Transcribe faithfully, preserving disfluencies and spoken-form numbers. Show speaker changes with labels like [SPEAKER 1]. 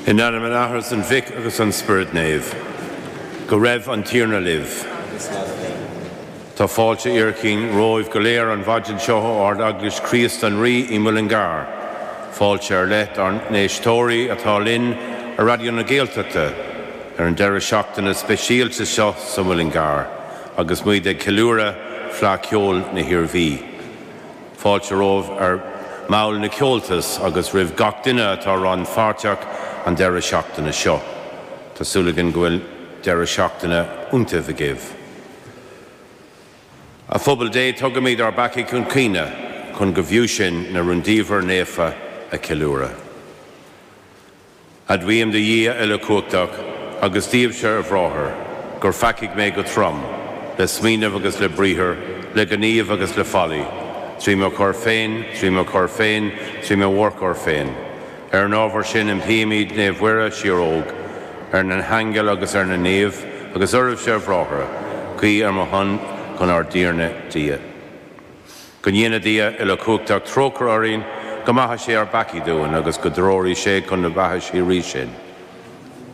[SPEAKER 1] In ainm an Athar is an Mhic agus an Spioraid Naoimh. Go raibh an Tiarna libh. Tá fáilte fhíorchaoin romhaibh go léir an mhaidin seo ó Ard-Eaglais Chríost an Rí i Mullingar. Fáilte ar leith ár n-éisteoirí atá linn ar Raidió na Gaeltachta ar an deireadh seachtaine speisialta seo sa Mullingar, agus muid ag ceiliúradh Fleadh Cheoil na hIarmhí. Fáilte romhaibh ar bhaill na Comhaltas agus roimh gach duine atá rannpháirteach an deireadh seachtaine seo. Tá súil againn go bhfuil deireadh seachtaine iontach agaibh. A phobal Dé tugaimid ár bpeacaí chun cuimhne chun go bhfiú sinn na rúndiamhair naofa a cheiliúradh. Admhaím do Dhia uilechumhachtach agus daoibhse a bhráithre, gur pheacaigh mé go trom, le smaoineamh agus le briathar, le gníomh agus le faillí, trí mo choir féin, trí mo choir féin, trí mo mhórchoir féin. Ar an ábhar sin impímid Naomh Muire síoróg, ar na haingil agus ar na naoimh, agus oraibhse a bhráithre, guí ar mo shon chun ár dTiarna Dia. Go ndéana Dia uilechumhachtach trócaire orainn, go maithe sé ár bpeacaí dúinn agus go dtreoraí sé chun na beatha síoraí sinn.